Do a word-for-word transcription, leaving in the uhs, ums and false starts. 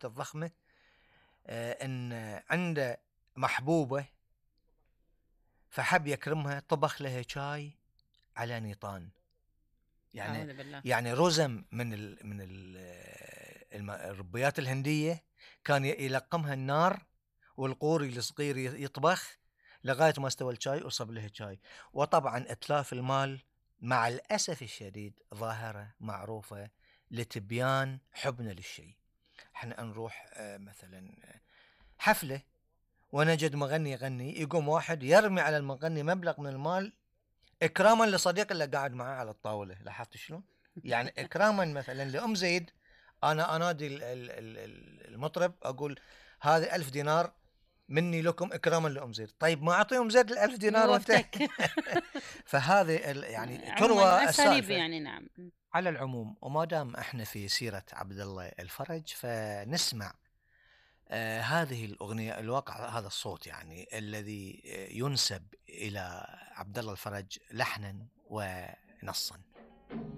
الشخصيات الضخمة آه ان عنده محبوبة فحب يكرمها، طبخ لها شاي على نيطان. يعني يعني رزم من ال من ال الربيات الهندية كان يلقمها النار والقوري الصغير يطبخ لغاية ما استوى الشاي وصب له شاي. وطبعا اتلاف المال مع الأسف الشديد ظاهرة معروفة لتبيان حبنا للشيء. احنا نروح مثلا حفلة ونجد مغني يغني، يقوم واحد يرمي على المغني مبلغ من المال إكراما لصديق اللي قاعد معاه على الطاولة. لاحظت شلون؟ يعني إكراما مثلا لأم زيد، أنا أنادي المطرب أقول هذه ألف دينار مني لكم إكراما لأم زيد. طيب ما أعطي أم زيد الألف دينار وانت فهذه يعني تروى السالفة يعني. نعم. على العموم، وما دام احنا في سيرة عبد الله الفرج فنسمع آه هذه الأغنية. الواقع هذا الصوت يعني الذي ينسب إلى عبد الله الفرج لحنا ونصا.